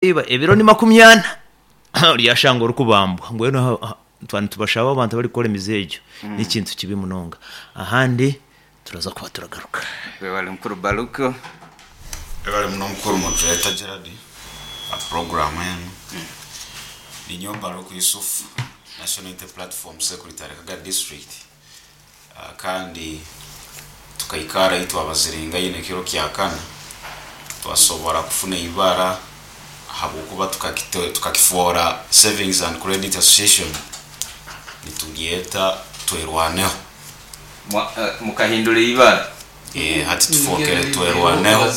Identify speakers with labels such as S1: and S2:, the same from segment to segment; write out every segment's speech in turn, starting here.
S1: Iba ebiro ni 40 oryashanga orikubambwa. Mbwenu twaba nitubashaba abantu abarikukora emize egyo n'ekintu kibi munonga. Ahandi turaza kuba turagaruka.
S2: Webale mukuru Baluku.
S3: Webale muno mukuru Moderator Gerald aha program enu. Ninyowe Baluku Yusuf, National Unity Platform Secretary Kagadi District kandi tukaikara ahi twabaziringaine ekiro kya kana twasobora kufuna eibara ahabwokuba tukakifoora Savings and Credit Association nituryeta Twerwaneho.
S2: Mukahindura eibara.
S3: Hati tufookere Twerwaneho,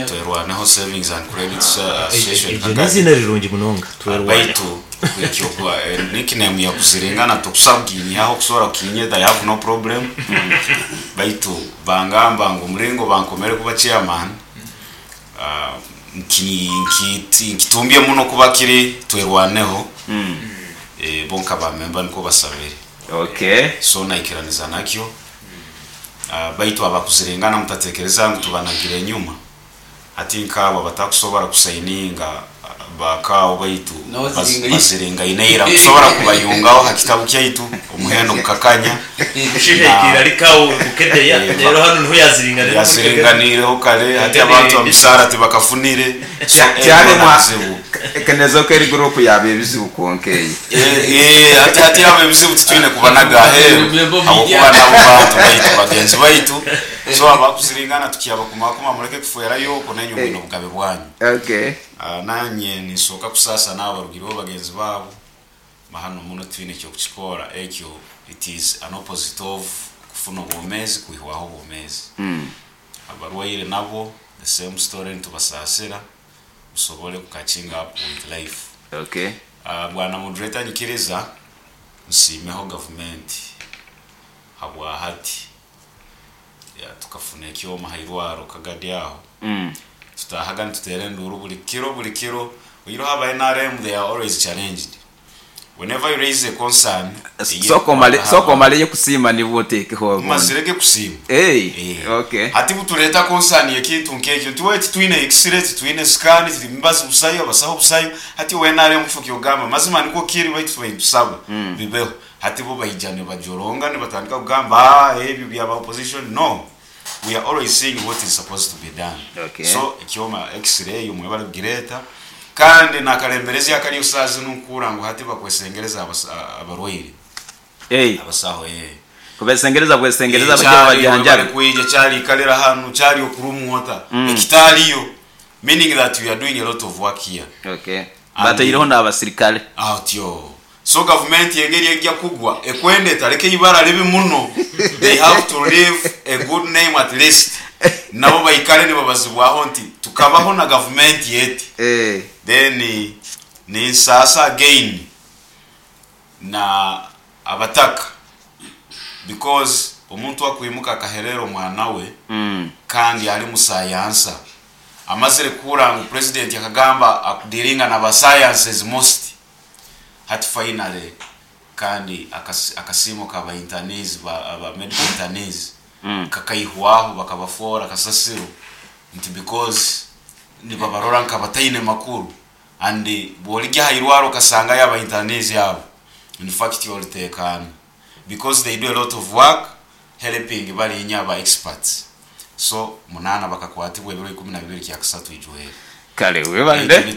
S3: Twerwaneho Savings and Credit Association
S1: Eryo n'eiziina rirungi munonga, Twerwaneho.
S3: Baitu nickname ya Kuziringana tokusobola kuginyihaho okusobora kukinyeta I have no problem baitu bangamba ngu omuringo bankomere kuba chairman nkitumbye muno kuba kiri Twerwaneho bo nka ba member nikwo basabire so naikiraniza nakyo. Baitu abakuziringana mutatekereza ngu tubanagire enyuma. Hati nk'abo abatakusobora kusayininga bakaawo baitu baziringaine ira nkusobora kubayungaho ha kitabu kyaitu omuhendo gukakanya.
S1: Omushaija aikaire ari kaawo Bukedea reero hanu niho yaziringaniire omuri Kagadi.
S3: Yaziringaniireho kare hati abantu emisaara tibakafunire so ebyo bizibu.
S2: Kenezoka eri guruupu yaaba ebizibu kwonka eyo.
S3: Hati hati abo ebizibu titwine kubanaga aheeru habwokuba nabo bantu baitu bagenzi baitu. So abakuziringana tukyabakumakuma mureke kufwerayo okwo nainywe mwine obugabe bwanyu. Nanye ninsoka kusaasa naabo abarugireho bagenzi baabo mahano muno titwine ekyokukikoora ekyo it is an opposite of kufuna obwomezi kwihwaho obwomezi. Abarwaire nabo the same story nitubasaasira musobole ku catching up with life. Bwana moderator nyikiriza nsiimeho gavumenti habwahati. Tukafuna ekyoma ha irwaro Kagadi aho. Tutaahaga nituteera enduuru buri kiro buri kiro. Oihireho aba nrm they are always challenged. Whenever you raise a concern
S2: Sooka omare sooka omaleyo kusiima nibwo oteekeho obundi.
S3: Mazire ge kusiima.
S2: Eeh okay.
S3: Hati butureeta concern y'ekintu nk'ekyo nti wee titwine x-ray, titwine scan, emibazi busayo, abasaho busayo. Hati owa nrm kifo ky'okugamba mazima nikwo kiri baitu tubaire nitusaba bibeho. Hati bo baija nibajoronga nibatandika kugamba aah ebyo byaba opposition no we are always seeing what is supposed to be done
S2: Okay.
S3: so ekyoma x-ray mwebale kugireeta kandi nakaremberezi akariyo saaha zinu nkuhurra ngu hati bakwesengereza abarwaire
S2: Hey.
S3: abasaho eeh.
S2: Kubesengereza bwesengereza
S3: Eh,
S2: baije
S3: kyari webale
S2: babajanjabe.
S3: kwija kyari ikalira hanu kyari okurumwa ota ekitariyo meaning that we are doing a lot of work here
S2: Okay.
S3: And-
S2: Bataireho n'abasirikare.
S3: Atyo. So gavumenti engeri egya kugwa ekwenda etareka eibara ribi muno, they have to leave a good name at least nabo baikare nibabazibwaho nti tukabaho na gavumenti eti. Then ninsaasa again na abataka because omuntu akwimuka akaherera omwana we kandi ari musayansa amazire kuhurra ngu president akagamba akudiringa na ba sciences most. Hati finally kandi akasiimo ka ba internees ba medical internees kakaihwaho bakabafoora kasasiro nti because nibabarora nkabataine makuru and bworigya aha irwaro okasangayo aba internees abo in fact oritekaana because they do a lot of work helping barinya aba experts so munaana bakakwatibwa ebiro 12 kyakasatu ijwere.
S2: Kale
S3: Ekyo
S2: webalire.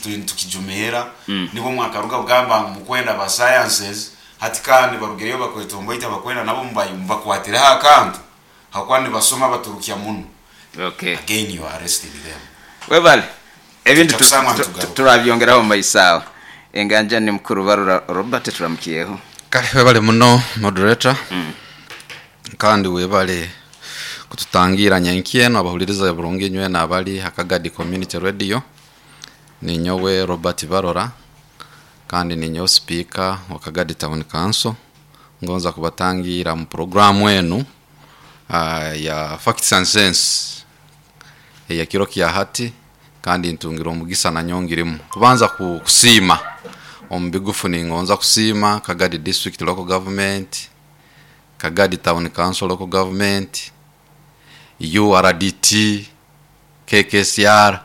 S3: Nitukijumira. Nibwo mwakaruga kugamba ngu mukwenda ba sciences hati kandi barugireyo bakwetomboita bakwenda nabo mubakwatireho akantu habwokuba nibasoma baturukya muno.
S2: Okay.
S3: Again you are arresting them.
S2: Webale. Ebindi
S3: Twija kusangwa nitugaruka.
S2: turabyongeraho omu maiso agho. Enganja ni Mukuru Barura Robert turamukyeho.
S4: Kale webale muno Moderator kandi webale kututangiira nyenkya eno abahuliriza burungi inywena abali ha Kagadi Community Radio. Ninyowe Robert Barora kandi ninyowe sipiika wa Kagadi Town Council. Ngonza kubatangiira mu puroguramu enu ya Facts and Sense ey'ekiro kya hati kandi ntungire omugisa nanyowe ngirimu. Kubanza kusiima omu bigufu ningonza kusiima Kagadi District Local Government, Kagadi Town Council Local Government, URDT, KKCR.